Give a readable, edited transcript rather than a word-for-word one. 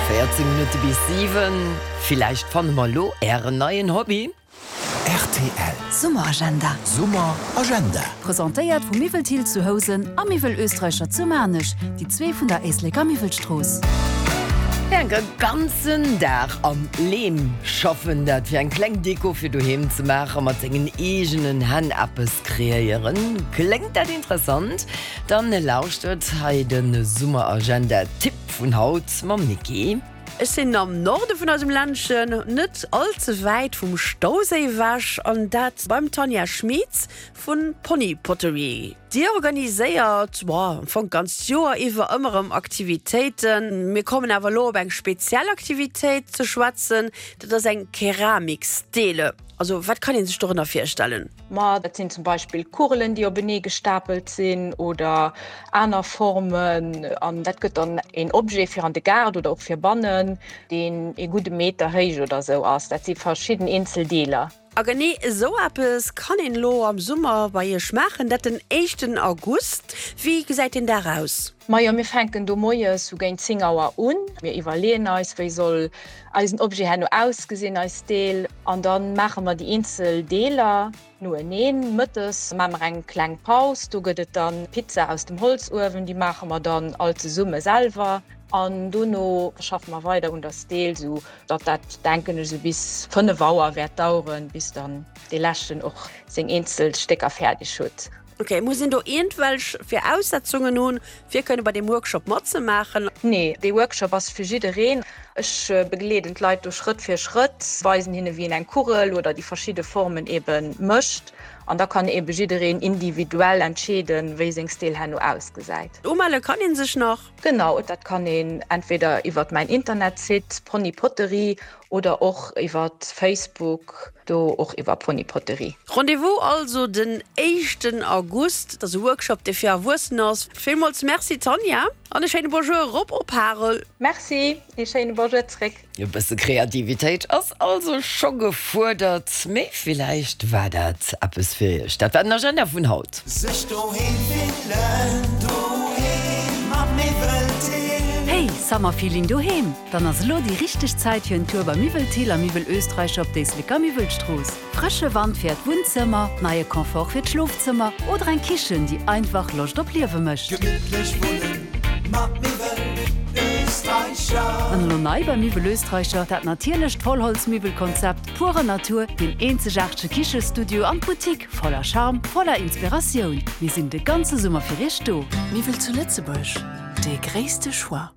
14 Minutte bis 7. Villäicht fanne mer elo Ären neien Hobby? Rtl. Summeragenda. Summeragenda. Presentéiert vu Miwwel Thill zu Housen a Miwwel Österreicher zu Maarnech, déi zwee vun der Éisleker Miwwelstrooss. E ganzen Dag am Leem schaffen, dat fir eng kleng Deko fir doheem ze maachen, mat sengen eegenen Hänn eppes kreéieren. Kléngt dat interessant? Dann lauschtert hei de Summeragenda Tipp vun haut mam Niki. Ech sinn am Norde vun eisem Ländchen, net all ze wäit vum Stauséi ewech, an dat beim Tanja Schmieds vu Pony Pottery. Dir organiséiert, boah, am Fong d'ganzt Joer iwwer ëmmer erëm Aktivitéiten. Mir kommen awer elo op eng speziell Aktivitéit ze schwätzen, dat ass eng Keramikstele. Also wat kann ee sech dorënner virstellen? Ma dat sinn zum Beispill Kugelen, déi openee gestapelt sinn oder aner Formen. An dat gëtt dann een Objet fir an de Gaart oder och fir bannen, deen ee gudde Meter héich oder esou ass. Dat si verschidden eenzel Deeler. A genee esou eppes kann een elo am Summer bei Iech maachen, dat den éischten August. Wéi gesäit deen Dag aus? Majo, mir fänken do moies sou géint 10 Auer un. Mir iwwerleeën eis, wéi soll eisen Objet herno ausgesinn, eis Deel, an da maache mer déi eenzel Deeler noeneen. Mëttes maache mer eng kleng Paus, do gëtt et dann Pizza aus dem Holzuewen, déi maache mer dann all zesumme selwer. An dono schaffe mer weider un der Steel, sou datt dat, denken ech, sou bis 5 Auer wäert daueren, bis dann dee leschten och seng eenzel Stécker fäerdeg huet. Ok, muss een do iergendwelch Viraussetzungen hunn, fir kënne bei deem Workshop matzemaachen? Nee, dee Workshop ass fir jiddereen. Ech begleeden d'Leit do Schrëtt fir Schrëtt, weisen hinne wéi een eng Kugel oder déi verschidde Formen ebe mécht an da kann ebe jiddereen individuell entscheeden, wéi seng Steel herno ausgesäit. Umelle kann een sech nach? Genau, dat kann een entweder iwwert mäin Internetsite Pony Potterie Oder och iwwert Facebook, do och iwwer Ponypotterie. Rendez-vous also den éischten August. Et ass e Workshop, dee fir Erwuessener ass. Villmools Merci Tanja an e schéine Bonjour erop op Harel. Merci, ee schéine Bonjour zréck. E bësse Kreativitéit ass also scho gefuerdert, mee villäicht war dat eppes fir iech. Dat war den Agenda vun haut. Sech doheem fillen, doheem am Miwweltill. Hey, Summerfeeling doheem? Dann ass elo déi richteg Zäit fir en Tour bei Miwwel Thill a Miwwel Österreicher op d'Éisleker Miwwelstrooss. Frësche Wand fir äert Wunnzëmmer, neie Confort fir d'Schlofzëmmer oder eng Kichen, déi einfach Loscht op Liewe mécht. Gemittlech wunnen mat Miwwel Österreicher. An elo nei bei Miwwel Österreicher, dat natierlecht Vollholzmiwwelkonzept purer Natur, deen eenzegaartege Kichestudio an d'Boutique voller Charme, voller Inspiratioun. Mir sinn de ganze Summer fir iech do. Miwwel zu Lëtzebuerg, dee gréisste Choix.